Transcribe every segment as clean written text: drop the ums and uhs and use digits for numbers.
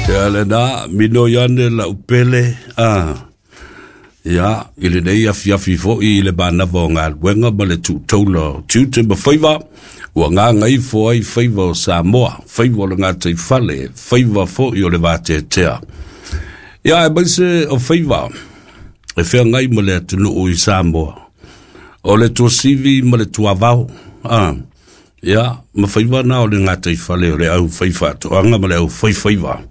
Ia lena, minoi ane lau pele, ia, i lenei afiafi foi i le manava o galuega ma le tuutaula o tiute ma faiva, ua gagaifo ai faiva o Samoa, faiva o le gataifale, faiva foi o le vateatea. Ia, aemaise o faiva e feagai ma le atunuu i Samoa, o le tuasivi ma le tuavao, ia, ma faiva na o le gataifale o le au faifaatoaga ma le au faifaiva.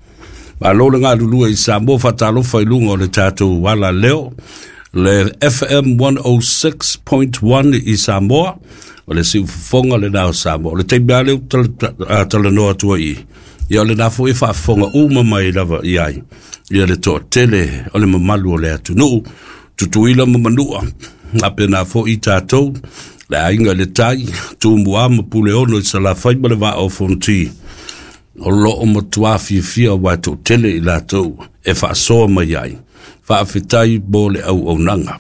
Malo le galulue i Samoa, faatalofa i luga o le tatou ala leo, le FM 106.1 i Samoa, o le siufofoga lena o Samoa. O le taimi lava lea ou talanoa atu ai i, ia o lena foi e faafofoga uma mai lava i ai, ia le toatele o le mamalu o le atunuu, Tutuila ma Manua, faapena foi tatou, le aiga i le tai, Tumua ma Puleono i Salafai ma le Vaa o Fonoti, o lo o matua fiafia aua e toatele i latou e faasoa mai ai. Faafetai mo le auaunaga.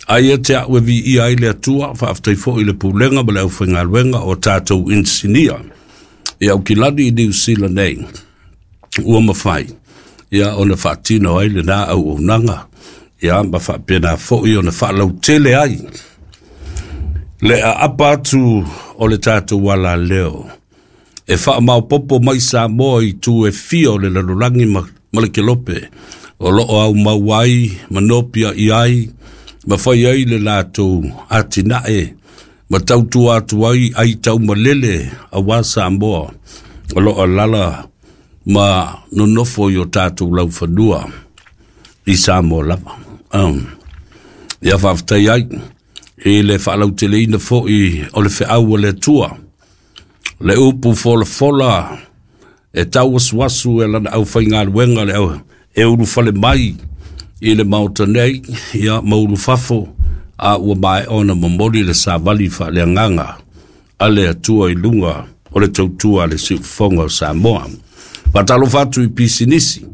Ai ia te au e viia ai le Atua, faafetai foi i le pulega ma le aufaigaluega o tatou inisinia i Aukilani i Niu Sila nei, ua mafai ia ona faatino ai lena auaunaga, ia ma faapena foi ona faalautele ai le aapa atu o le tatou alaleo e faamaopopo mai Samoa i itu e fia o le lalolagi ma le kelope o lo o aumau ai ma nopiai ai ma fai ai le latou atinae ma tautua atu ai ai taumalele aua Samoa o lo o alaala ma nonofo i o tatou laufanua i Samoa lava. Ia faafetai ai i le faalauteleina foi o le feau a le Atua, le upu folafola e tauasuasu e lana aufaigaluega le au e ulufale mai i le Maota nei, ia ma ulufafo, a ua maea ona momoli le savali faaleagaga a le Atua i luga o le tautua a le siufofoga o Samoa. Faatalofa atu i pisinisi,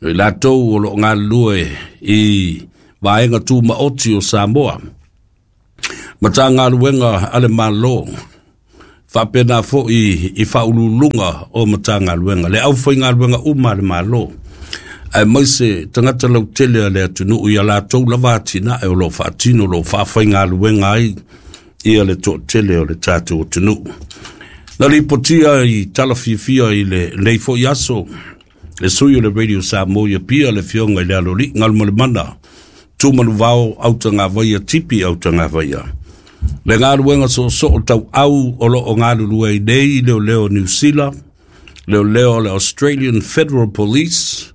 i latou o lo o galulue i vaega tumaoti o Samoa, Matagaluega a le Malo, faapena foi i faauluuluga o Matagaluega, le aufaigaluega uma a le Malo, aemaise tagata lautele a le atunuu i a latou lava atinae o lo o faatino, o lo o faafaigaluega ai ia le toatele o le tatou atunuu. Na lipotia i tala fiafia i lenei foi aso, le sui o le Radio Samoa i Apia, le afioga i le Aloalii Galumalemana, Tumanuvao Autagavaia, Tipi Autagavaia. Le galuega soosoo tauau o lo o galulue ai nei leoleo o Niu Sila, leoleo o le Australian Federal Police,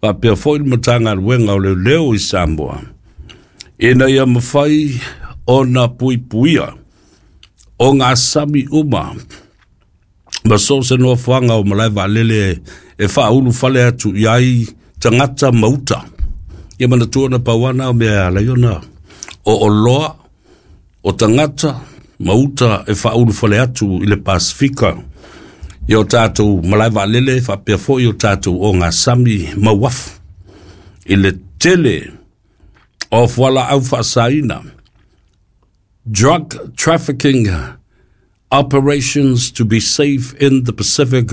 faapea foi le Matagaluega o Leoleo i Samoa, ina ia mafai ona puipuia o gasami uma ma so o se nofoaga o malae vaalele e faaulufale atu i ai tagata ma uta. Ia manatua na pau ana o mea e ala ai ona o oloa o tagata ma uta e faaulufale atu i le Pasefika i o tatou malae vaalele faapea foi o tatou ogasami ma uafu i le tele o fualaau faasaina, drug trafficking operations to be safe in the Pacific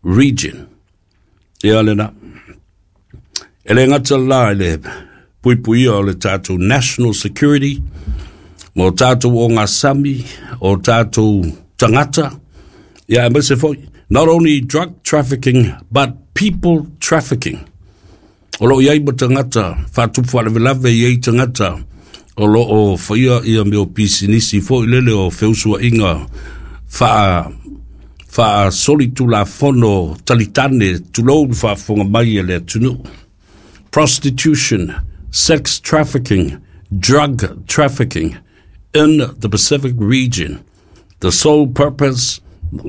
region. Ia lena. E le gata la i le puipuia o le tatou national security, ma o tatou ogasami, o tatou tagata, ia aemaise foi, not only drug trafficking, but people trafficking. O lo o i ai ma tagata faatupu faalavelave, i ai tagata o lo o faia ia mea o pisinisi foi lele o feusuaiga faa faasolitulafono talitane, tulou le faafofoga mai a le atunuu. Prostitution, sex trafficking, drug trafficking in the Pacific region. The sole purpose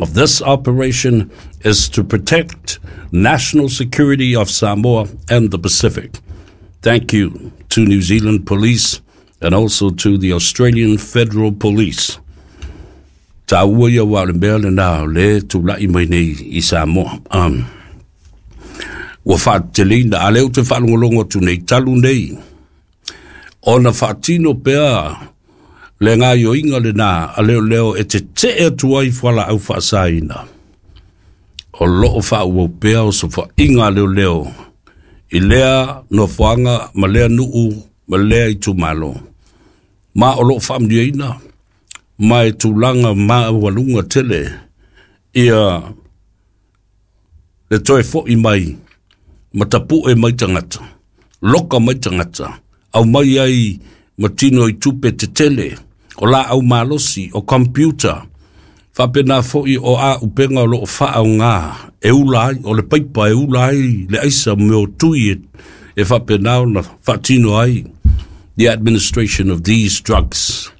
of this operation is to protect national security of Samoa and the Pacific. Thank you to New Zealand Police and also to the Australian Federal Police. Taua ia wa o le mea lena o le tulai mai nei i Samoa. Ua faateteleina, a lea ou te faalogologo atu nei, talu nei, ona faatino pea le gaoioiga lena a leoleo e tetee atu ai fualaau faasaina. O loo faaauau pea osofaiga a leoleo i lea nofoaga ma lea nuu ma lea itumalo. Ma o loo faamanuiaina ma e tulaga maualuga tele ia le toe foi mai ma tapue mai tagata, loka mai tagata, aumai ai ma tino i tupe tetele, o laau malosi, o computer, faapena foi o auupega o loo faaaoga e ula ai, o le paipa e ula ai le aisa mea o tui e faapena ona faatino ai the administration of these drugs.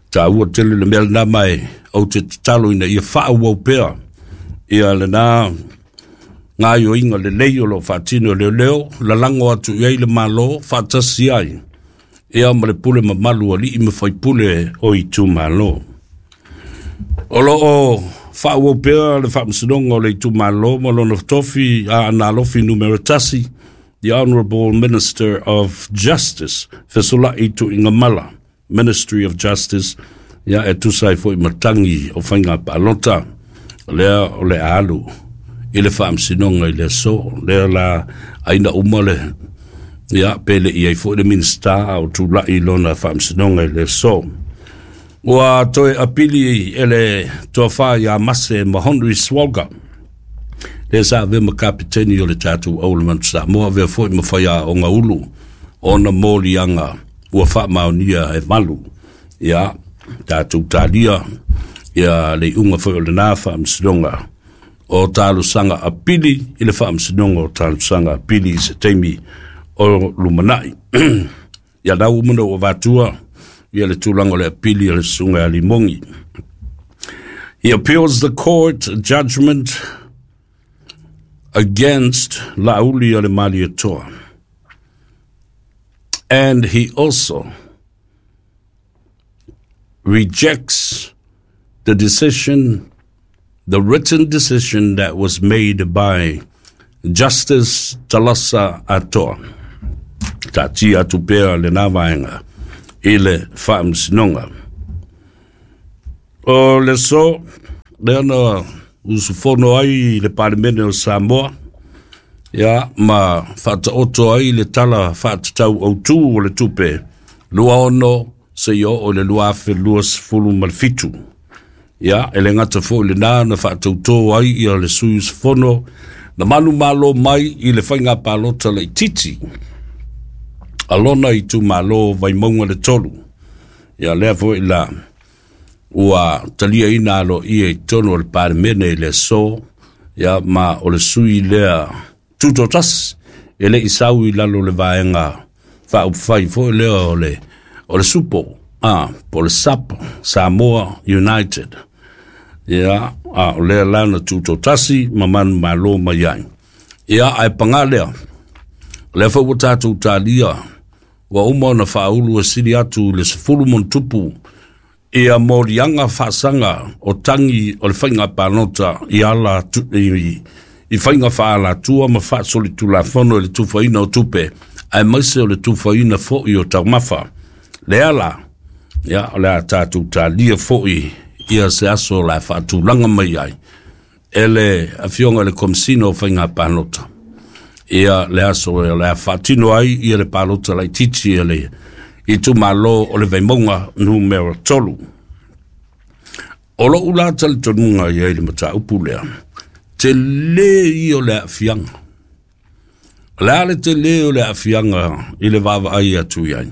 Taua tele le mea lena ma e ou te tatalo ina ia faaauau pea ia lena gaoioiga lelei o loo faatino e leoleo, lalago atu i ai le Malo faatasi ai ia ma le pule mamalu a alii ma faipule o itumalo. O loo faaauau pea le faamasinoga o le itumalo ma lona tofi Aana Alofi 1, the Honorable Minister of Justice, Fesolai Tuigamala, Ministry of Justice, ia e tusa ai foi ma tagi o faiga palota, lea o le alu i le faamasinoga i le aso. Lea la aina uma le ia pe le i ai foi le Minista o tulai lona faamasinoga i le aso. Ua toe apili e le tofa ia Mase ma Henry Swalga, lea sa avea ma kapiteni o le tatou Au o le Manu Samoa, avea foi ma faiaoga ulu ona moliaga ua faamaonia e 8. Ia tatou talia ia le iuga foi o lena faamasinoga o talosaga apili i le faamasinoga o talosaga apili i se taimi o lumanai. Ia lau uma na ua avatua ia le tulaga o le apili a le susuga ia Limogi. He appeals the court judgment against Laauli o le Malietoa. And he also rejects the decision, the written decision that was made by Justice Talasa Atoa. Taatia atu pea lena vaega i le faamasinoga. O le aso, lea na usufono ai le Palemene o Samoa, ia ma faataoto ai le tala faatatau autu o le tupe 26 seia oo i le 2027. Ia, e le gata foi lena na faatautō ai ia le sui usufono na manumalo mai i le faiga palota laitiiti a lona itumalo Vaimauga le 3. Ia lea foi la ua taliaina aloaia i totonu o le Palemene i le aso, ia ma o le sui lea tutotasi e le i sau i lalo o le vaega faaupufai foi lea o le SUPO, po o le SUP, Samoa United. Ia, a o lea la na tutotasi ma manumalo mai ai. Ia, ae paga lea, o lea foi ua tatou talia, ua uma ona faaulu e sili atu i le 10 ma ona tupu ia moliaga faasaga o tagi o le faiga palota i ala i faiga faaalatua ma faasolitulafono i le tufaina o tupe, aemaise o le tufaina foi o taumafa. Lea la, ia, o le a tatou talia foi ia se aso o le a faatulaga mai ai e le afioga i le Komesina o Faiga Palota ia le aso o le a faatino ai ia le palota laitiiti e le itumalo o le Vaimauga 3. O lou la talitonuga i ai le mataupu lea, tele ia o le aafiaga. O le a le tele o le aafiaga i le vaavaai atu i ai?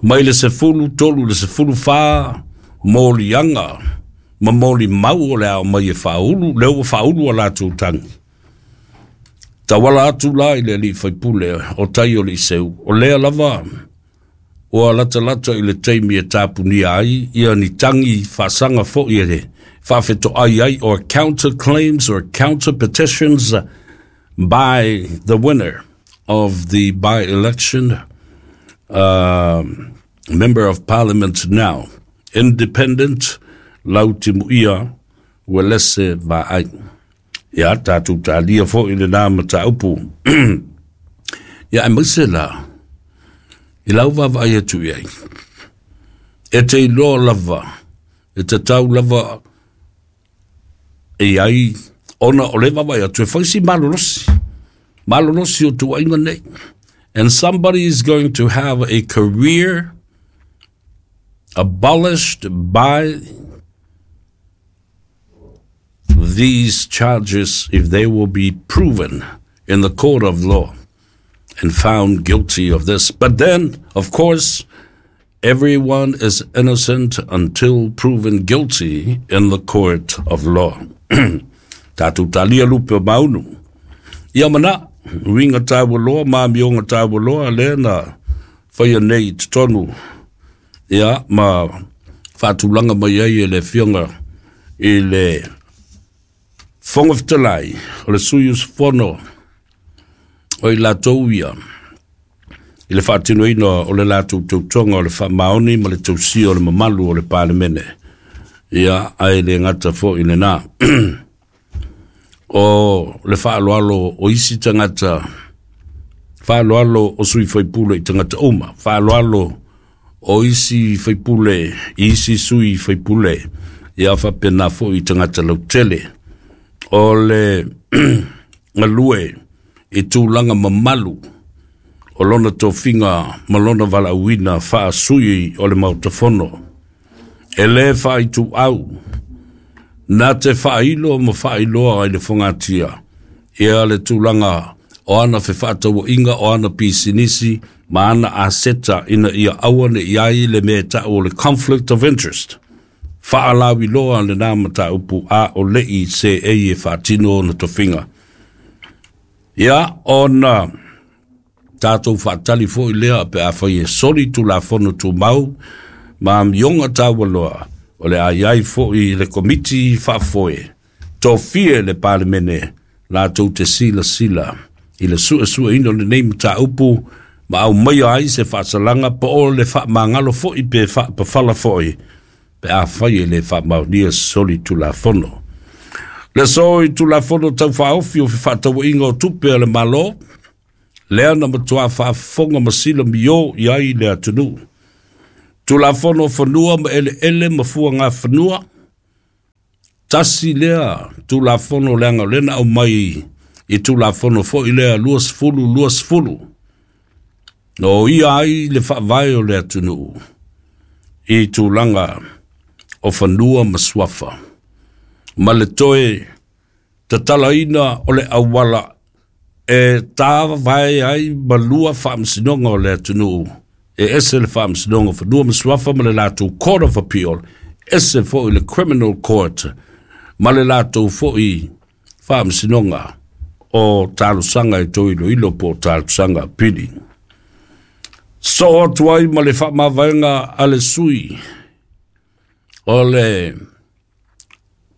Mai le 13 i le 14 moliaga ma molimau o le ao mai e faaulu, lea ua faaulu a latou tagi. Tauala atu la i le alii faipule o tai o le Iseu, o lea lava ua latalata i le taimi e tapunia ai ia ni tagi faasaga foi e faafetoai ai, or counter claims or counter petitions by the winner of the by-election, member of parliament now, independent Lautimuia Uelese Vaai. Ia tatou talia foi lena mataupu. Ia aemaise la i lau vaavaai atu i ai. E te iloa lava, e tatau lava e i ai ona o le vaavaai atu e fai si malolosi, malolosi o tuuaiga nei. And somebody is going to have a career abolished by these charges if they will be proven in the court of law and found guilty of this. But then, of course, everyone is innocent until proven guilty in the court of law. Tātou talia lupe o maunu. Ia mana, uiga tāua loa, ma amioga tāua loa, lea na faia nei i totonu, ia, ma faatulaga mai ai e le Afioga i le Fofoga Fetalai, o le sui usufono o i latou ia, i le faatinoina o le latou tautoga o le faamaoni ma le tausia o le mamalu o le Palemene. Ia, ae le gata foi i lena. O le faaaloalo o isi tagata, faaaloalo o sui faipule i tagata uma, faaaloalo o isi faipule i isi sui faipule, ia faapena foi i tagata lautele. O le galue i tulaga mamalu o lona tofiga ma lona valaauina faasui o le Maota Fono, e lē faaituau na te faailo ma faailoa i le fogatia ia le tulaga o ana fefaatauaiga, o ana pisinisi ma ana aseta ina ia aua ne i ai le mea e tau o le conflict of interest. Faalauiloa lenā mataupu a o leʻi seei e faatino ona tofiga. Ia ona tatou faatali foi lea pe afai e soli Tulafono Tumau ma amioga taualoa, o le a i ai foi le Komiti Faafoe tofia e le Palemene latou te silasila i le suesueina o lenei mataupu ma aumaia ai se faasalaga po o le faamagalo foi pe faapafala foi pe afai e le faamaonia soli Tulafono. Le aso i Tulafono Tau Faaofi o Fefaatauaiga o Tupe a le Malo, lea na matuā faafofoga ma silamio i ai le atunuu. Tulafono o Fanua ma Eleele ma Fuagafanua, tasi lea Tulafono leaga o lea na aumai i Tulafono foi lea 2020, na oia ai le faavae o le atunuu i tulaga o fanua ma suafa, ma le toe tatalaina o le auala e tāvae ai ma lua faamasinoga o le atunuu, e ese le Faamasinoga o Fanua ma Suafa ma le latou Court of Appeal, ese foi le Criminal Court ma le latou foi faamasinoga o talosaga e toe iloilo po o talosaga apili. Soo atu ai ma le faamavaega a le sui o le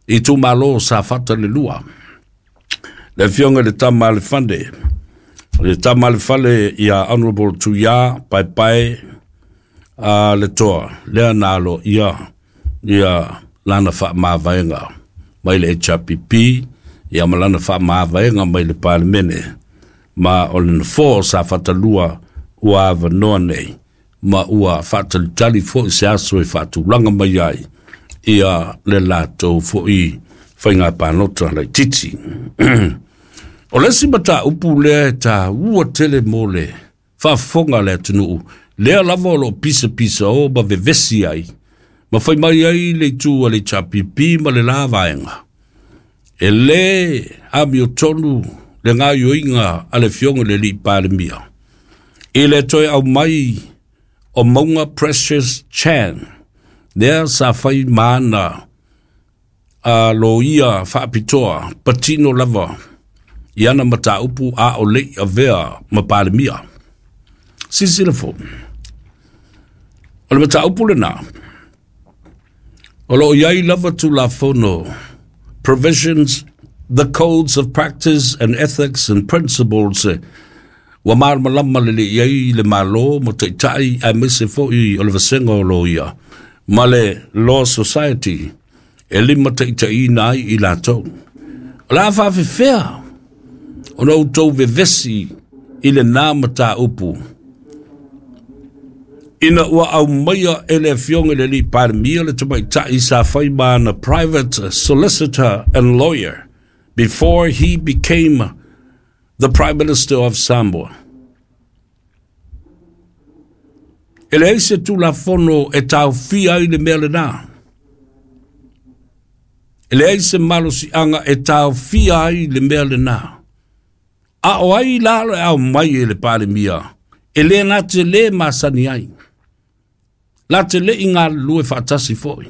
itumalo Safata le lua, le Afioga i le Tama a le Fale, le Tama a le Fale ia Honorable Tuia Paepae a le Toa, lea na alo ia ia lana faamavaega mai le HRPP ia ma lana faamavaega mai le Palemene, ma o le nofoa o Safata 2 ua avanoa nei, ma ua faatalitali foi se aso e faatulaga mai ai ia le latou foi faiga palota laitiiti. O le isi mataupu lea e taua tele mo le faafofoga a le atunuu, lea lava o loo pisapisa o ma vevesi ai ma fai mai ai le itu a le HRPP ma le la vaega, e lē amiotonu le gaoioiga a le Afioga i le Alii Palemia i le toe aumai o Mauga Precious Chan, lea sa fai ma ana a loia faapitoa patino lava i ana mataupu a o leʻi avea ma Palemia. Silasila foi, o le mataupu lenā, o loo i ai lava Tulafono, provisions, the codes of practice and ethics and principles, ua malamalama lelei ai le Malo ma taitai aemaise foi o le vasega o loia ma le Law Society e limataitaiina ai i latou. O le a faafefea ona outou vevesi i lenā mataupu? Ina ua aumaia e le Afioga i le Alii Palemia le tamaitai sa fai ma ana private solicitor and lawyer before he became the Prime Minister of Samoa. E leai se Tulafono e taofia ai le mea lenā. E leai se malosiaga e taofia ai le mea lenā. A o ai la le aumai e le Palemia e le na te lē masani ai. La te le i galulue faatasi foi.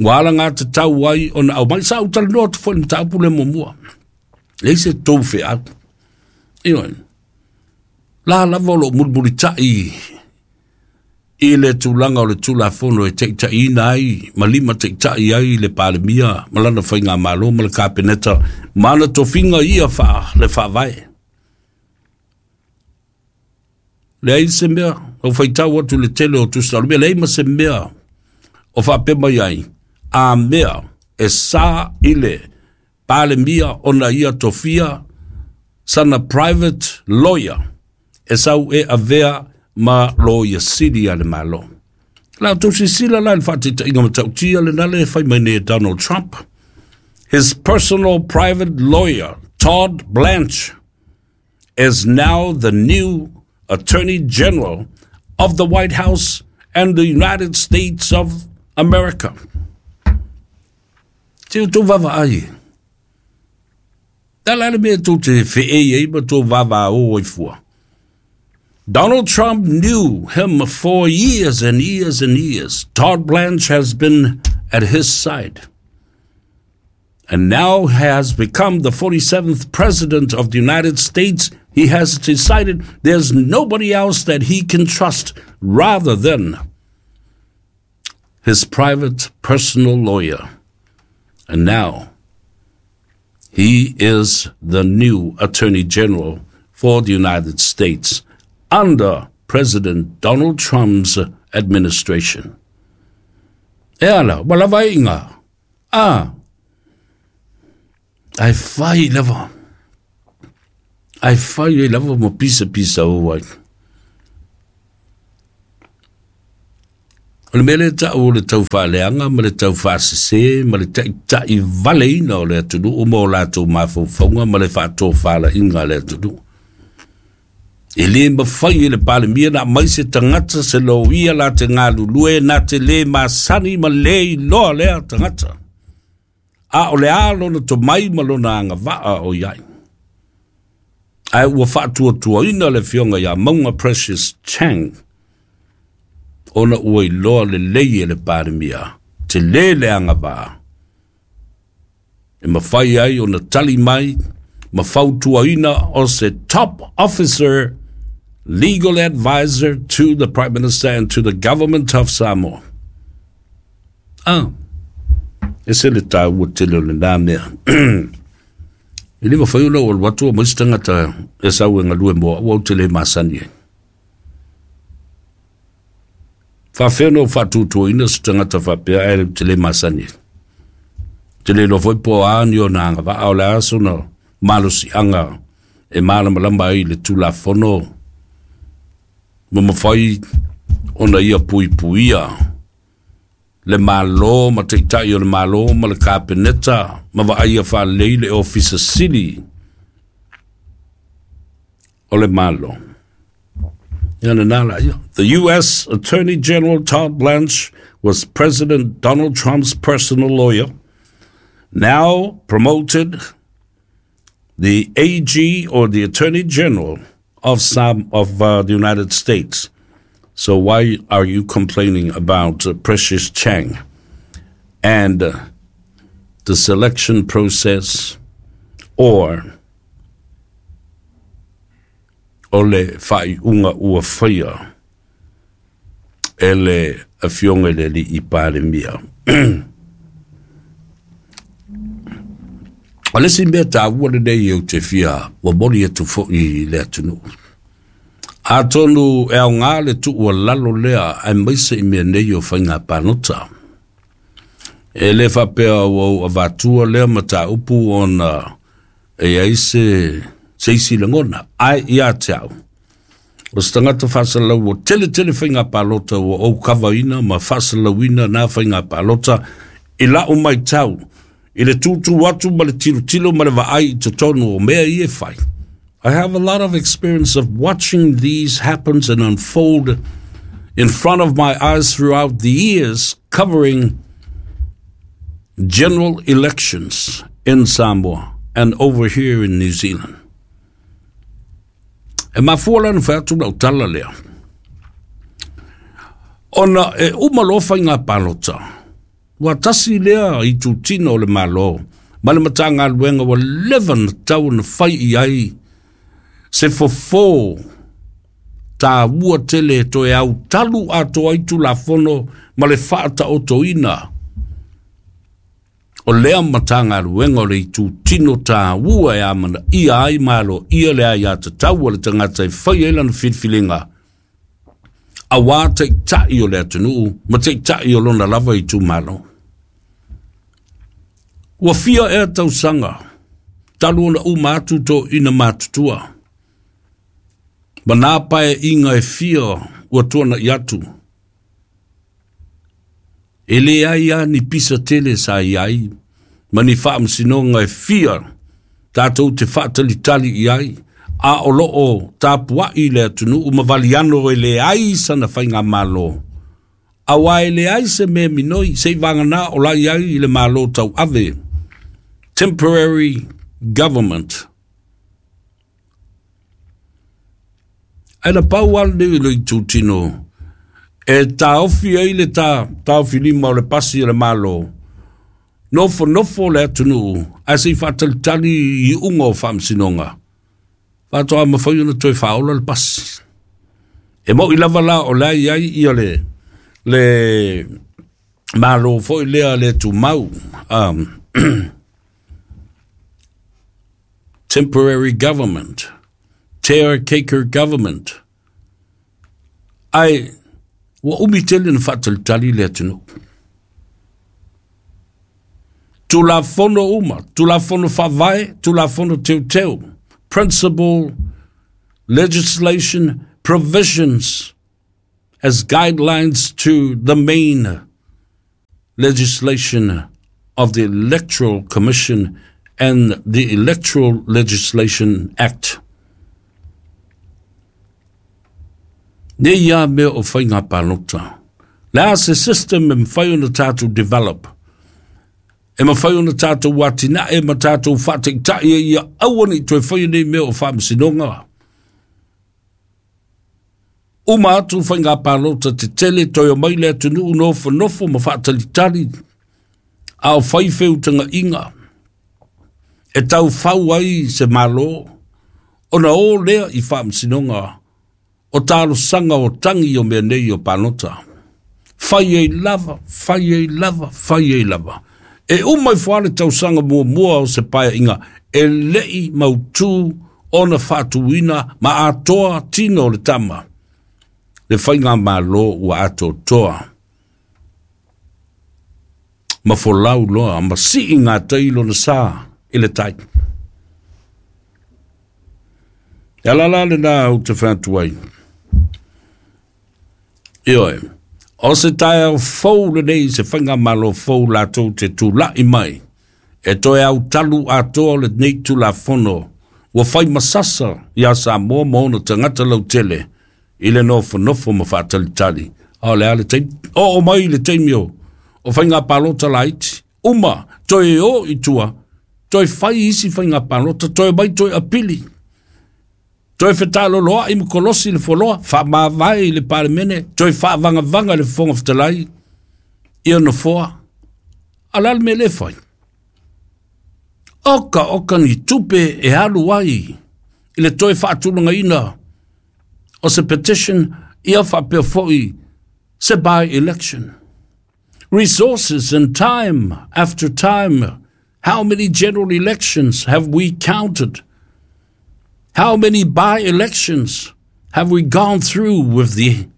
Ua alagatatau ai ona aumai. Sa ou talanoa atu foi i le mataupu lea muamua. Leai se tou feau. Ioe. La lava o lo o mulimulitai i le tulaga o le Tulafono e taitaiina ai ma lima taitai ai le Palemia ma lana faigamalo ma le Kapeneta ma ana tofiga ia faa le faavae. Leai se mea, o faitau atu le tele o tusa o le mea, leai ma se mea o faapea mai ai, a mea e sa i le Palemia ona ia tofia sana private lawyer e sau e avea ma loia sili a le Malo. La outou silasila la i le faataitaiga matautia lena le fai mai nei e Donald Trump. His personal private lawyer, Todd Blanche, is now the new Attorney General of the White House and the United States of America. Se outou vaavaai e. Tala le mea tou te feei ai ma tou vavaō ai fua. Donald Trump knew him for years and years and years. Todd Blanche has been at his side and now has become the 47th president of the United States. He has decided there's nobody else that he can trust rather than his private personal lawyer. And now he is the new Attorney General for the United States under President Donald Trump's administration. E ala, ua lava ai inga. Ah, ai fai lava. Ai fai ai lava ma pisa pisa o ai. O le mea lea e ta'u o le tau faaleaga ma le tau faasese ma le taʻitaʻi valeina o le atunuu ma o latou mafaufauga ma le faatofalaiga a le atunuu. E lē mafai e le Palemia na aumai se tagata se loia la te galulue na te lē masani ma lē iloa lea tagata. A o le a lona tomai ma lona agavaa o i ai. Ae ua faatuatuaina le afioga ia Mauga Precious Chang ona ua iloa lelei e le Palemia telē le agavaa e mafai ai ona tali mai ma fautuaina o se top officer legal advisor to the Prime Minister and to the government of Samoa. Ah, e se le tāua tele o lenā mea. E le mafai ona ou alu atu aumai se tagata e sau e galue mo au, au te le masani ai. Faafefea ona ou faatuatuaina se tagata faapea ae te le masani ai. Te le iloa foi po o a ni ona agavaa, o le a sona malosiaga e malamalama ai i le Tulafono ma mafai ona ia puipuia le Malo ma Taitai o le Malo ma le Kapeneta ma vaaia faalelei le Ofisa Sili o le Malo. Ia lena la ia. The US Attorney General Todd Blanche was President Donald Trump's personal lawyer, now promoted the AG or the Attorney General of some of the United States. So why are you complaining about Precious Chang and the selection process or o le faaiuga ua faia e le Afioga i le Alii Palemia? O le isi mea taua lenei ou te fia momoli atu foi i le atunuu. Atonu e aoga le tuualalo lea aemaise i mea nei o faiga palota. E le faapea ua ou avatua lea mataupu ona e i ai se isi lagona, ae ia te au. O se tagata faasalalau ua tele tele faiga palota ua ou kavaina ma faasalalauina na faiga palota i la'u matau i le tūtū atu ma le tilotilo ma le vaai i totonu o mea ia e fai. I have a lot of experience of watching these happen and unfold in front of my eyes throughout the years covering general elections in Samoa and over here in New Zealand. E mafua la ona fai atu lau tala lea. Ona e uma loa faiga palota, ua tasi lea itutino o le Malo ma le Matagaluega ua leva ona tatau ona fai i ai se fofo taua tele e toe autalu atoa ai Tulafono ma le faataotoina o lea Matagaluega o le itutino taua e amanaia ai ma aloaia le aiatatau a le tagata e fai ai lana filifiliga aua taitai o le atunuu ma taitai o lona lava itumalo. Ua fia ea tausaga talu ona uma atu toeaiina matutua ma nā paeaiga e fia ua tuanai atu. E leai lava ni pisa tele sa i ai ma ni faamasinoga e fia tatou te faatalitali i ai, a o lo o tapuai le atunuu ma valiano e leai sana faigamalo, aua e leai se mea minoi se i vagana o la i ai i le Malo tauave, temporary government. Ae na pau lava lenei o le itutino e taofi ai le taofilima o le pasi a le Malo, nofonofo le atunuu ae se i faatalitali i iuga o faamasinoga, faatoa mafai ona toe faaola le pasi. E moni lava la o la e i ai ia le Malo foi lea le tumau, temporary government, caretaker government, ae ua umi tele na faatalitali le atunuu. Tulafono uma, Tulafono Faavae, Tulafono Teuteu, principal legislation provisions as guidelines to the main legislation of the Electoral Commission and the Electoral Legislation Act. Nei ia mea o faiga palota. Le a se system e mafai ona tatou develop, e mafai ona tatou atinae ma tatou faataitai ai ia aua ne i toe faia nei mea o faamasinoga. Uma atu faiga palota tetele, toe omai le atunuu nofonofo ma faatalitali, a o fai feutagaiga e taufau ai se Malo, ona o lea i faamasinoga o talosaga o tagi o mea nei o palota. Fai ai lava, fai ai lava, fai ai lava. E uma ifo lava le tausaga muamua o se paeaiga e le i mautu ona faatuina ma atoa tino o le tama, le faigamalo ua atoatoa ma folau loa ma sii gatai lona sa i le tai. E ala la lena ou te fai atu ai. Ioe, o se taeao fou lenei, se faigamalo fou latou te tulai mai e toe autalu atoa lenei Tulafono ua fai masasa iā Samoa ma ona tagata lautele i le nofonofo ma faatalitali. A o le a le taimi? Oo mai le taimi o o faiga palota laiti, uma, toe o i tua, toe fai isi faiga palota, toe mai toe apili, toe fetaloloai ma kolosi le fualoa, faamavae i le Palemene, toe faavagavaga le Fofoga Fetalai ia nofoa. A o le a le mea lea e fai? Oka oka ni tupe e alu ai i le toe faatulagaina o se petition ia faapea foi se by-election. Resources and time after time, how many general elections have we counted? How many by-elections have we gone through with the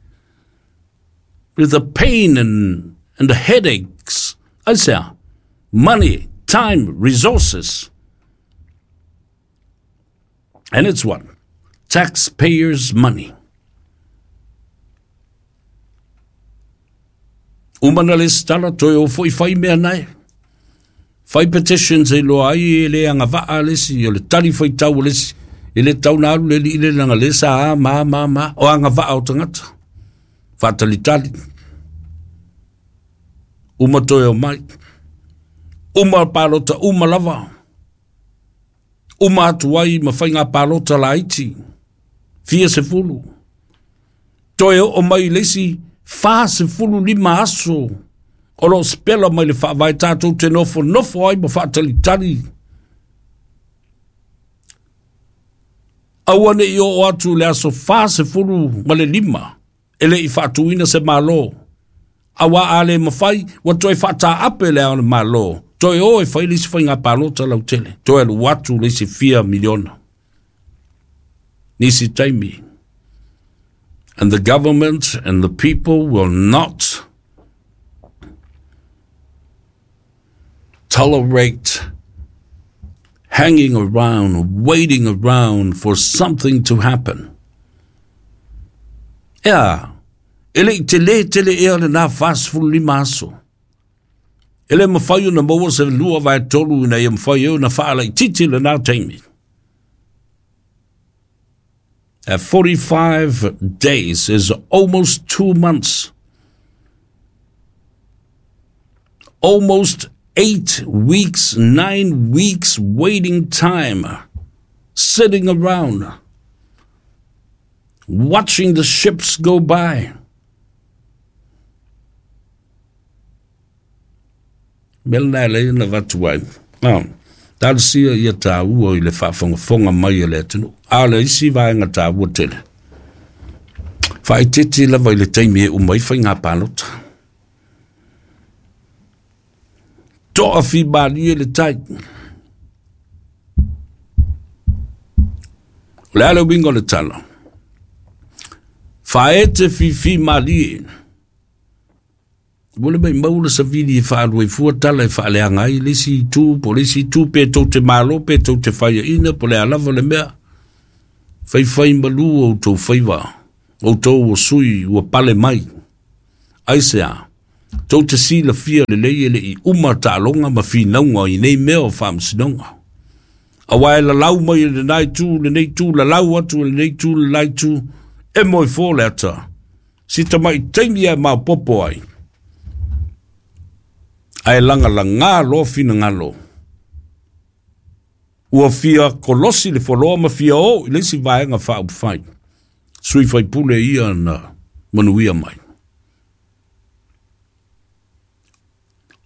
with the pain and, and the headaches? I say, money, time, resources. And it's what? Taxpayers' money. Uma na lesitala, toe o fo'i fai mea nae. Fai petitions e iloa ai e le agavaa le isi, o le tali faitau a le isi, e le tatau ona alu le alii lea leaga o lea sa a ma a ma a ma a. O agavaa o tagata, faatalitali. Uma toe omai. Uma palota uma lava. Uma atu ai ma faiga palota laiti, fia sefulu. Toe oo mai i le isi 45 aso o lo o sipela mai le faavae tatou te nofonofo ai ma faatalitali. Aua ne i oo atu i le aso 45 e le i faatuina se Malo. Aua a le mafai, ua toe faataape le Ao o le Malo, toe o e fai le isi faiga palota lautele, toe alu atu le isi fia miliona. Nisi taimi. And the government and the people will not tolerate hanging around, waiting around for something to happen. Ea, e le i telē tele ea lenā 45 aso. E le mafai ona maua se 2/3 ina ia mafai ai ona faalaitiiti lenā taimi. At 45 days is almost 2 months. Almost 8 weeks, 9 weeks waiting time, sitting around, watching the ships go by. Mea lena e alai ona avatu ai. Talosia ia taua i le faafogafoga mai a le atunuu. A o le isi vaega taua tele, faaeteete lava i le taimi e uma ai faiga palota. Toafimalie le tai. O le a le uiga o le tala? Faaete fifimalie. Ua le maumau le savili e faaalu ai fua tala e faaleaga ai le isi itu po o le isi itu, pe tou te malo pe tou te faiaina po o le a lava le mea. Faifai malu outou faiva, outou o sui ua pale mai. Aisea? Tou te silafia lelei e le i uma taaloga ma finauga i nei mea o faamasinoga. Aua e lalau mai e lena itu, lenei itu, lalau atu e lenei itu, le la itu, e moe fo le ata. Si tamai taimi e maopoopo ai, ae lagalagā loa finagalo. Ua fia kolosi le foloa ma fia oo i le isi vaega faaupufai, sui faipule ia na manuia mai.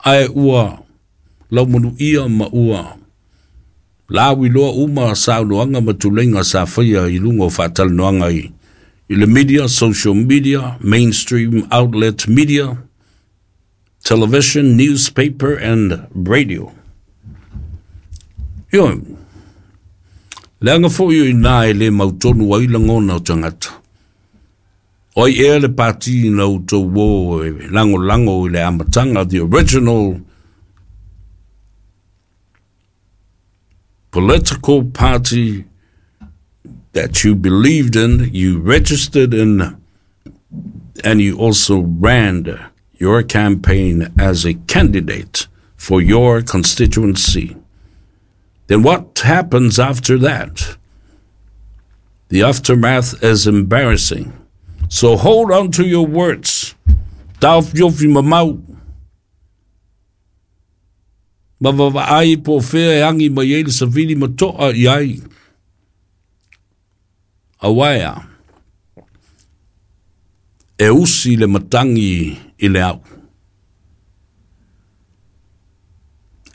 Ae ua laumanuia ma ua lauiloa uma saunoaga ma tuleiga sa faia i luga o faatalanoaga i le media, social media, mainstream outlet media, television, newspaper and radio. Ioe, leaga foi o i ina e le mautonu ai lagona o tagata. O ai ea le pati na outou o e lagolago i le amataga, the original political party that you believed in, you registered in, and you also ran your campaign as a candidate for your constituency. Then what happens after that? The aftermath is embarrassing. So hold on to your words. Taofiofi mamau. Ma vavaai po o fea e agi mai ai le savili ma toa i ai. Aua e a? E usi le matagi i le au.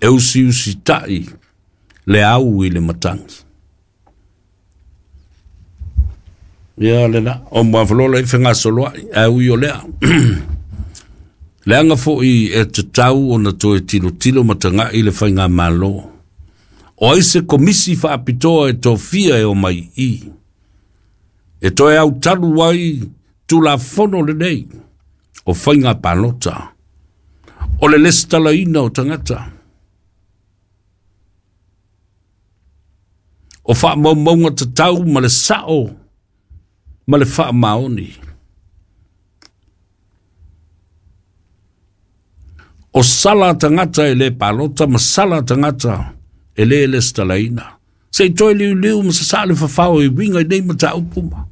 E usiusitai le au i le matagi. Ia le la, o Muafalola i fegasoloai, ae ui o lea. Leaga foi e tatau ona toe tilotilo ma tagai le faigamalo. O ai se komisi faapitoa e tofia e omai i i? E toe autalu ai Tulafono lenei o faiga palota, o le lesitalaina o tagata, o faamaumauga tatau ma le sao ma le faamaoni. O sala tagata e lē palota ma sala tagata e lē lesitalaina. Se i toe liuliu ma sasaa le fafao e uiga i nei mataupu ma.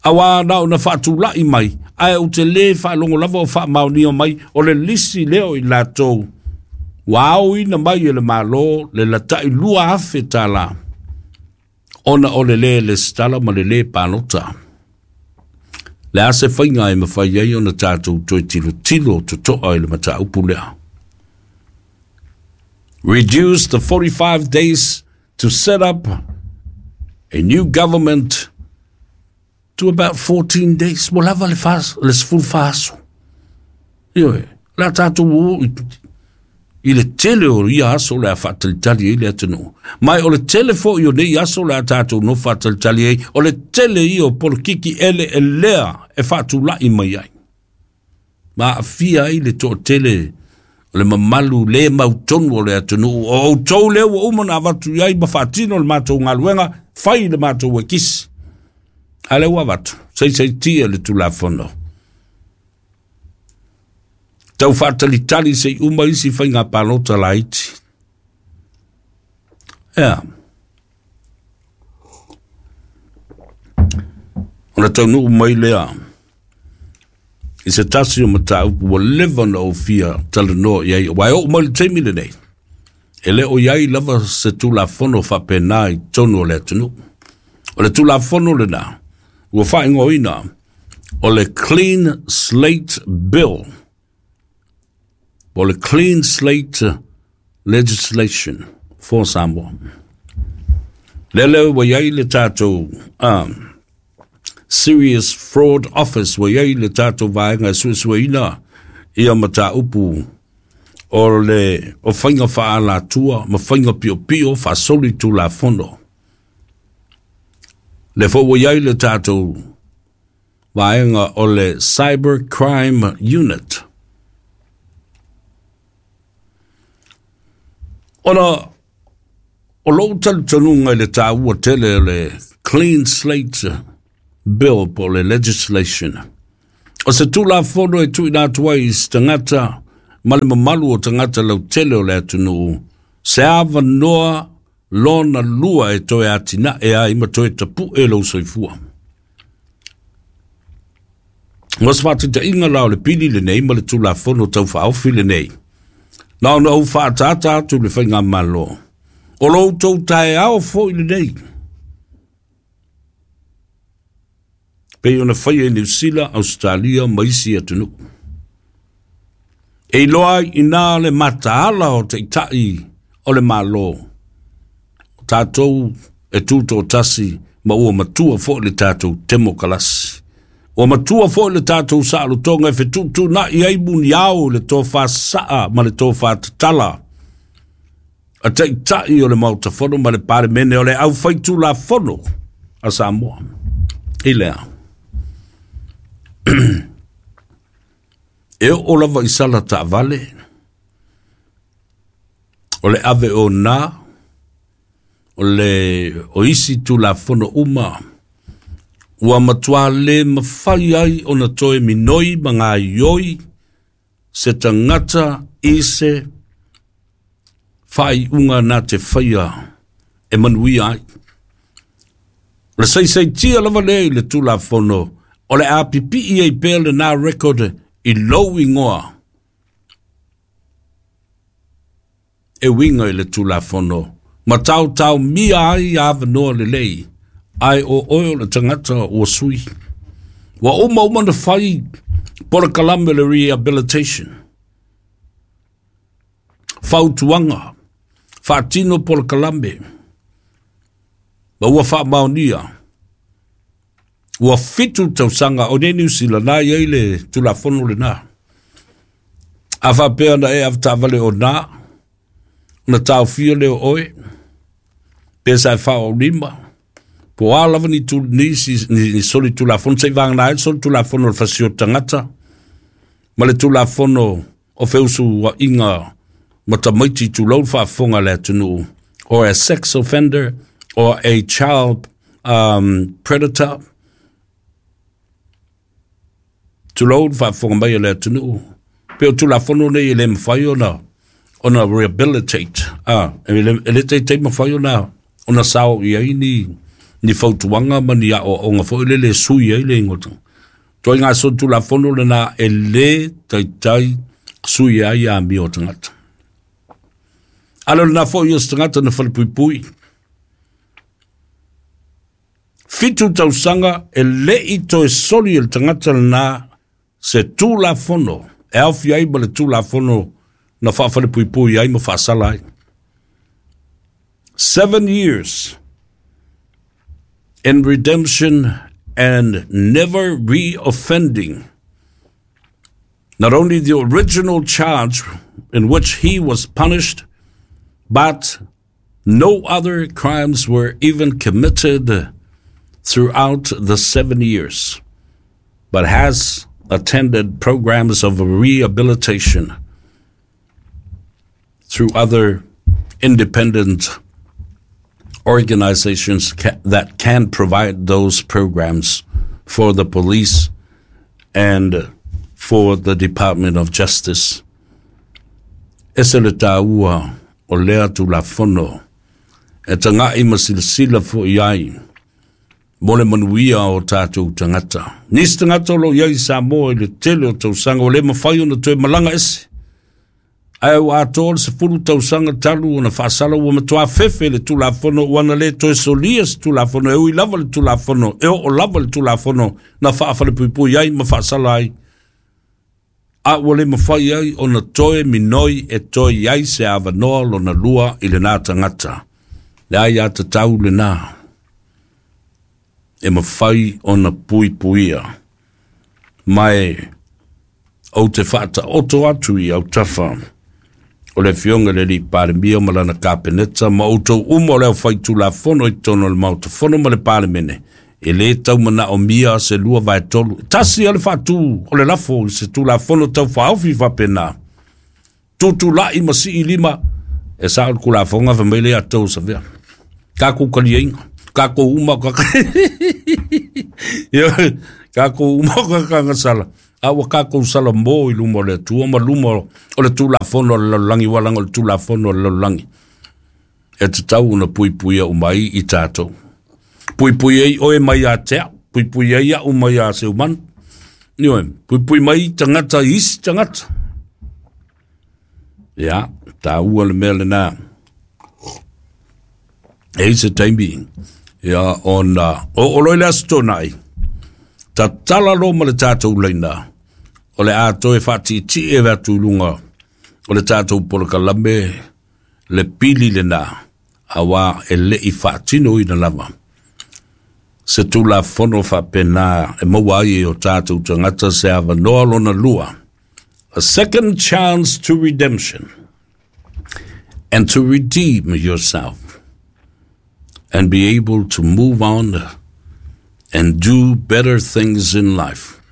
Auā na ona faatula'i mai, ae ou te lē faalogo lava o faamaonia mai o le lisi lea o i latou ua aoina mai e le Malo le lata'i $2,000 ona o le lē lesitala ma le lē palota. Le a se faiga e mafai ai ona tatou toe tilotilo toto'a i le mataupu lea? Reduce the 45 days to set up a new government to about 14 days. Ua lava le 14 aso. Ioe, o le a tatou o i le tele o ia aso o le a faatalitali ai le atunuu. Ma o le tele foi o nei aso o le a tatou nofo faatalitali ai, o le tele ia o polokiki eleelea e faatula'i mai ai. Ma aafia ai le toatele o le mamalu lē mautonu o le atunuu. O outou lea ua uma ona avatu i ai ma faatino le matou galuega, fai le matou ekisi. A lea ua avatu, saisaitia le Tulafono. Tau faatalitali se i uma isi faiga palota laiti. Ea. Ona taunuu mai lea i se tasi o mataupu ua leva ona ou fia talanoa i ai, aua e oo mai le taimi lenei, e le o i ai lava se Tulafono faapena i totonu o le atunuu. O le Tulafono lena ua faaigoaina o le Clean Slate Bill, po o le Clean Slate Legislation for Samoa. Lea ua i ai le tatou Serious Fraud Office, ua i ai le tatou vaega e suesueina ia mataupu o le o faiga faaalatua ma faiga piopio faasoli Tulafono. Le foi ua i ai le tatou vaega o le Cyber Crime Unit. Ona o lou talitonuga i le taua tele o le Clean Slate Bill po o le legislation. O se Tulafono e tuuina atu ai i se tagata ma le mamalu o tagata lautele o le atunuu se avanoa lona lua e toe atinae ai ma toe tapu'e lou soifua. Mo se faataitaiga la o le pili lenei ma le Tulafono Tau Faaofi lenei, na ona ou faaataata atu i le faigamalo, o lo outou taeao foi lenei, pei ona faia i Niu Sila, Ausetalia ma isi atunuu. E iloa ai i ina le mataala o taitai o le Malo, o tatou e tutoatasi ma ua matua foi le tatou temokalasi. Ua matua foi le tatou saolotoga e fetuutuunai ai muniao i le tofa saa ma le tofa tatala a taitai o le Maota Fono ma le Palemene o le aufaitulafono a Samoa. I lea, e oo lava i sala taavale, o le ave o nā, o le o isi Tulafono uma, ua matua lē mafai ai ona toe minoi ma gaioi se tagata i se faaiuga na te faia e manuia ai. O le saisaitia lava lea i le Tulafono, o le a pipii ai pea lena record i lou igoa e uiga i le Tulafono, ma taotaomia ai avanoa lelei, ae o oe o le tagata ua sui. Ua uma uma na fai polokalame le rehabilitation. Fautuaga, faatino polokalame, ma ua faamaonia. Ua 7 tausaga o nei Niu Sila na i ai le Tulafono lena. A faapea na e avetaavale o nā, ona taofia lea o oe, pe sa e faaolima, po o a lava ni, tu, nisi, ni soli Tulafono, se'i vagana ai le soli Tulafono o le fasioti tagata, ma le Tulafono o feusua'iga ma tamaiti tulou le faafofoga a le atunuu, or a sex offender, or a child predator, tulou le faafofoga mai a le atunuu. Pe o Tulafono nei e le mafai ona rehabilitate, e le taitai mafai ona sao i ai ni fautuaga ma ni aoaoga foi lele e sui ai le igoa o le tagata. Ituaiga solitulafono lena e lē taitai sui ai amio o tagata. A le o lena foi o se tagata na falepuipui 7 tausaga e lei toe soli e le tagata lena se Tulafono e aofia ai ma le Tulafono na faafalepuipui ai ma faasala ai. 7 years in redemption and never reoffending. Not only the original charge in which he was punished, but no other crimes were even committed throughout the 7 years, but has attended programs of rehabilitation through other independent organizations that can provide those programs for the police and for the Department of Justice. E se le tāua o lea Tulafono e taga'i ma silasila fo'i ai mo le manuia o tatou tagata. Nisi tagata o loo i ai i Samoa i le tele o tausaga ua le mafai ona toe malaga ese, ae ua atoa le 10 tausaga talu ona faasala, ua matuā fefe le Tulafono ua na lē toe solia se Tulafono e ui lava le Tulafono e oo lava le Tulafono na faafalepuipui ai ma faasala ai, a ua le mafai ai ona toe minoi e toe i ai se avanoa lona lua i lenā tagata. Le ai atatau lenā e mafai ona puipuia ma e ou te faataoto atu i autafa o le Afioga i le Alii Palemia ma lana Kapeneta ma outou uma o le aufaitulafono i totonu o le Maota Fono ma le Palemene. E lē tau manaomia se 2/3, tasi a le faatū o le lafo i se Tulafono tau faaofi faapena, tutula'i ma sii lima e sa'o le Tulafono fai mai le ia tou savea tatou taliaiga tatou uma tatou uma kakagasala a ua tatou salamo i luma o le Atua ma luma o le Tulafono a le lalolagi, ua laga o le Tulafono a le lalolagi e tatau ona puipuia uma ai i tatou. Puipui ai oe mai ia te au, puipui ai a'u mai ia Seumanu, ioe, puipui mai tagata i isi tagata. Ia tāua le mea lenā e i se taimi ia ona o loi le aso Tona'i tatala lo ma le tatou laina o le a toe faatiitii e atu i luga o le tatou polokalame le pili lenā auā e le'i faatinoina lava se Tulafono faapena e maua ai e o tatou tagata se avanoa lona lua, a second chance to redemption and to redeem yourself and be able to move on and do better things in life.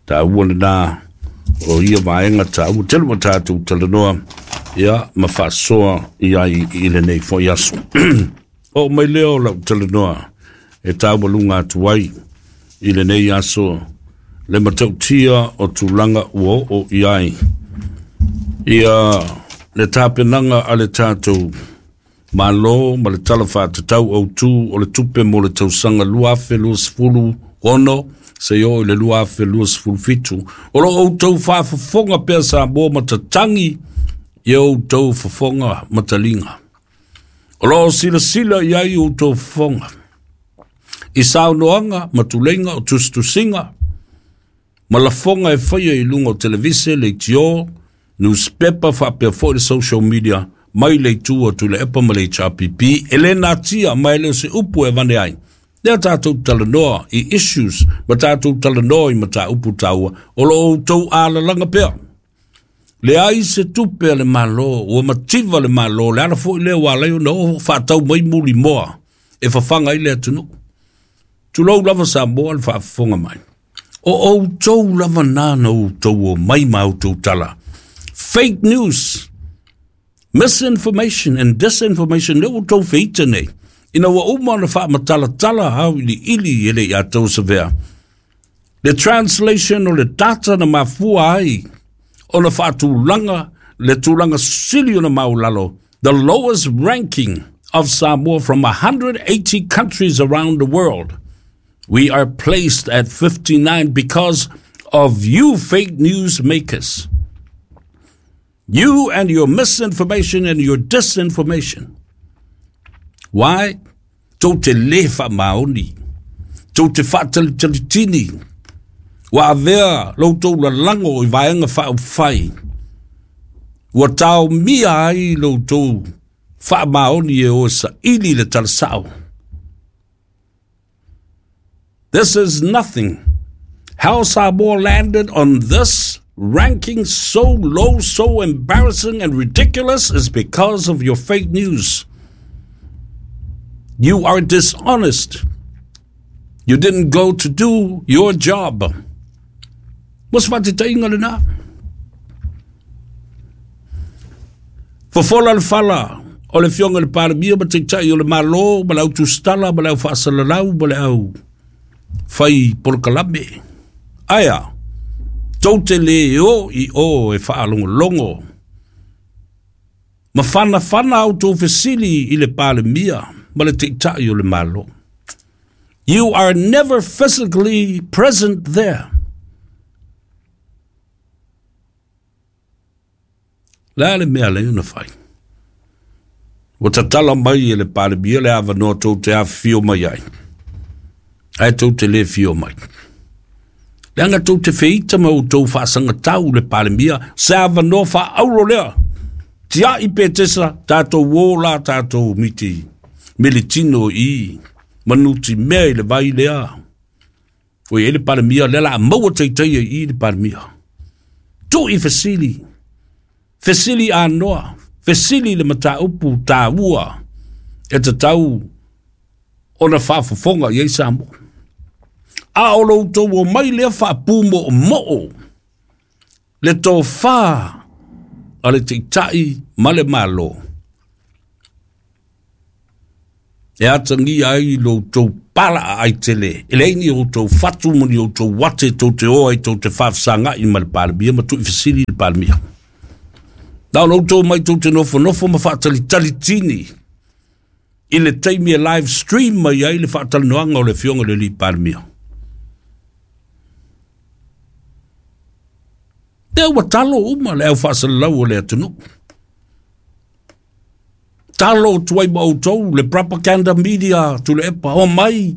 Tāua lenā o ia vaega tāua tele ua tatou talanoa ia ma faasoa i ai i lenei fo'i aso. Oo mai lea o lau talanoa e taualuga atu ai i lenei aso le matautia o tulaga ua oo i ai ia le tapenaga a le tatou Malo ma le Tala Faatatau Autū o le Tupe mo le tausaga 2026 seia oo i le 2027. O lo outou faafofoga pea Samoa ma tatagi i outou fofoga mataliga. O lo o silasila i ai outou fofoga i saunoaga ma tuleiga o tusitusiga ma lafoga e faia i luga o televise, leitio, newspaper faapea foi le social media mai le itu o Tuilaepa ma le HRPP. E lē natia ma e le o se upu e avane ai. Lea tatou talanoa i issues ma tatou talanoa i mataupu taua o lo o outou alalaga pea. Leai se tupe a le Malo, ua mativa le Malo, le ala foi lea ua alai ona oo faatau mai mulimoa e fafaga ai le atunuu. Tulou lava Samoa le faafofoga mai. O outou lava nā na outou o mai ma outou tala. Fake news, misinformation and disinformation le outou feita nei. Ina ua uma ona faamatalatala auiliili e le i a tou savea. Le translation o le data na mafua ai ona faatulaga le tulaga sili ona maualalo, the lowest ranking of Samoa from 180 countries around the world. We are placed at 59 because of you fake news makers. You and your misinformation and your disinformation. Why? Tou te le faamaoni. Tou te faatalitalitini. Ua avea lo outou lalago i vaega faaupufai. Ua taomia ai lo outou faamaoni e o e saili le talasao. This is nothing. How Samoa landed on this ranking so low, so embarrassing and ridiculous is because of your fake news. You are dishonest. You didn't go to do your job. Mo se faataitaiga lena. Fofola le fala o le Afioga i le Palemia ma Taitai o le Malo ma le au tusitala ma le au faasalalau ma le au fai polokalame. Ae a, tou te le o i o e faalogologo ma fanafana a outou fesili i le Palemia ma le Taitai o le Malo. You are never physically present there. Le a le mea lea na fai? Ua tatala mai e le Palemia le avanoa tou te afifio mai ai, ae tou te le fio mai. Leaga tou te feita ma outou faasagatau le Palemia, se avanoa faaauro lea. Tiai Petesa, tatou o la tatou miti militino i manuti mea i le vai lea. Ua i ai le Palemia, lea la a maua taitaia i i le Palemia. Tuu i fesili, fesili anoa, fesili le mataupu taua e tatau ona faafofoga i ai Samoa. A o lo outou omai lea faapumoomoo le tofa a le Taitai ma le Malo e atagia ai lo outou palaaai tele, e leai ni outou fatu ma ni outou ate tou te o ai tou te faafesagai ma le Palemia ma tuuifesili le Palemia. Na ona outou mai tou te nofonofo ma faatalitali tini i le taimi e live stream mai ai le faatalanoaga o le Afioga i le Alii Palemia. Lea ua talo uma le au faasalalau o le atunuu. Talo atu ai ma outou le propaganda media Tuilaepa, o mai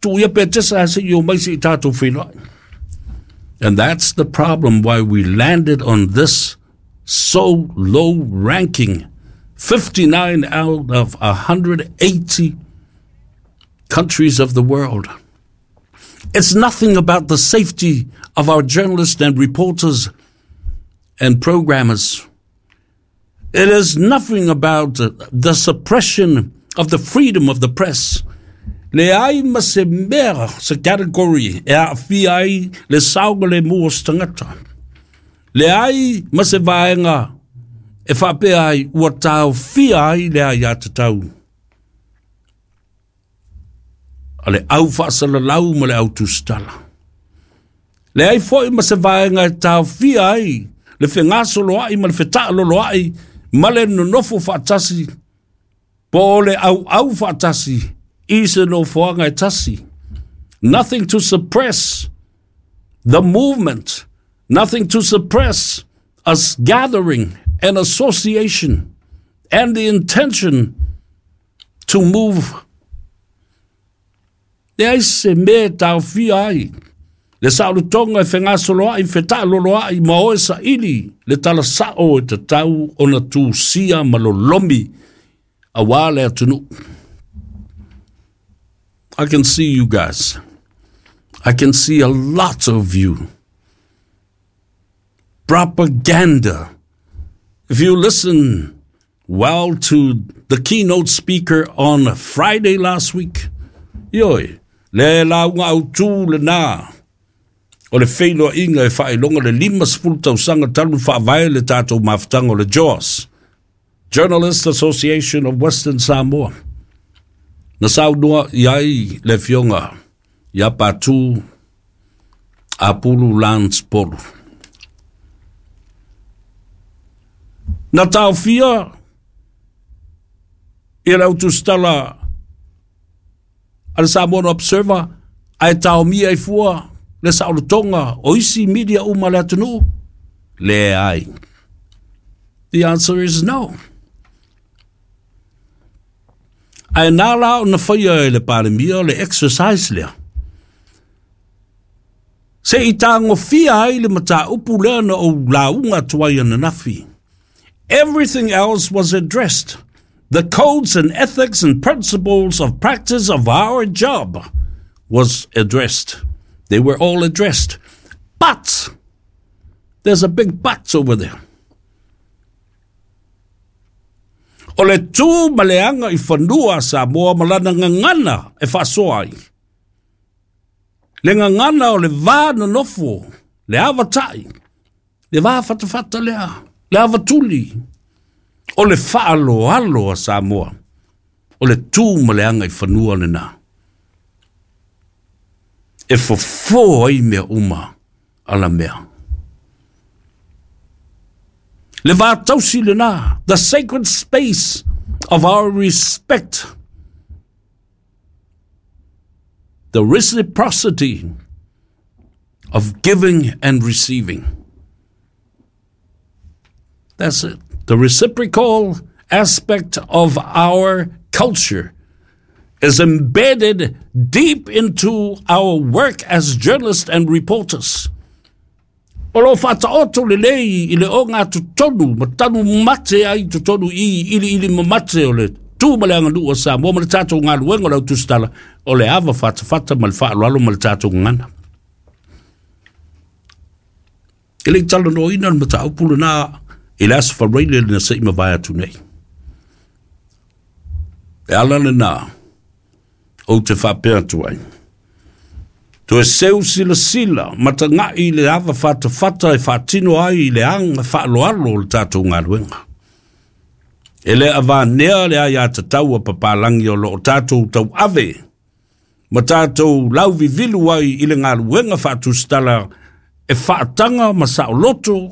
tuu ia Petesa se i o mai se i tatou feiloai. And that's the problem why we landed on this so low ranking, 59 out of 180 countries of the world. It's nothing about the safety of our journalists and reporters and programmers. It is nothing about the suppression of the freedom of the press. Leai ma se mea, se category e aafia ai le saogalemu o se tagata. Leai ma se vaega e faapea ai ua taofia ai le aiatatau a le au faasalalau ma le au tusitala. Leai foi ma se vaega e taofia ai le fegasoloai ma le fetaaloloai ma le nonofo faatasi po o le auau faatasi i se nofoaga e tasi. Nothing to suppress the movement, nothing to suppress us gathering and association and the intention to move. Leai se mea e taofia ai le saolotoga e fegasoloai, fetaaloloai ma o e saili le talasao e tatau ona tusia ma lolomi auā le atunuu. I can see you guys. I can see a lot of you. Propaganda. If you listen well to the keynote speaker on Friday last week, ioe, le lauga autū lena o le feiloaiga e faailoga le 50 tausaga talu faavae le tatou mafutaga o le JAWS, Journalist Association of Western Samoa. Na saunoa i ai le Afioga ia Patu. Apulu Lance Polu. Na taofia ia le autusitala a le Samoan Observer ae taomia ai fua le saolotoga o isi media uma a le atunuu? Leai. The answer is no. Ae na la ona faia e le Palemia le exercise lea se i tagofia ai le mataupu lea na ou lauga atu ai ananafi. Everything else was addressed. The codes and ethics and principles of practice of our job was addressed. They were all addressed. But there's a big but over there. O le tu ma le aga i fanua a Samoa ma lana gagana e faasoa ai. Le gagana o le va nonofo, le avatai, le va fatafata lea, le avatuli, o le faaaloalo a Samoa, o le tu ma le aga i fanua lena e fofo ai mea uma alamea. Le va tausi lena, the sacred space of our respect, the reciprocity of giving and receiving. That's it. The reciprocal aspect of our culture is embedded deep into our work as journalists and reporters. O lo faataoto lelei i le ogatotonu ma tanu mate ai totonu i ili ili mamate o le tu ma le aganuu a Samoa ma le tatou galuega o le autusitala o le ava fatafata ma le faaaloalo ma le tatou gagana. E le i talanoaina le mataupu lena i le Aso Faraile na se i mavae atu nei. E ala lena ou te faapea atu ai. Toe seu silasila mataga'i i le ava fatafata e faatino ai i le aga faaaloalo o le tatou galuega. E le avanea le aiatatau a papalagi o loo tatou tauave ma tatou lauvivilu ai i le galuega faatusitala e faataga ma saoloto.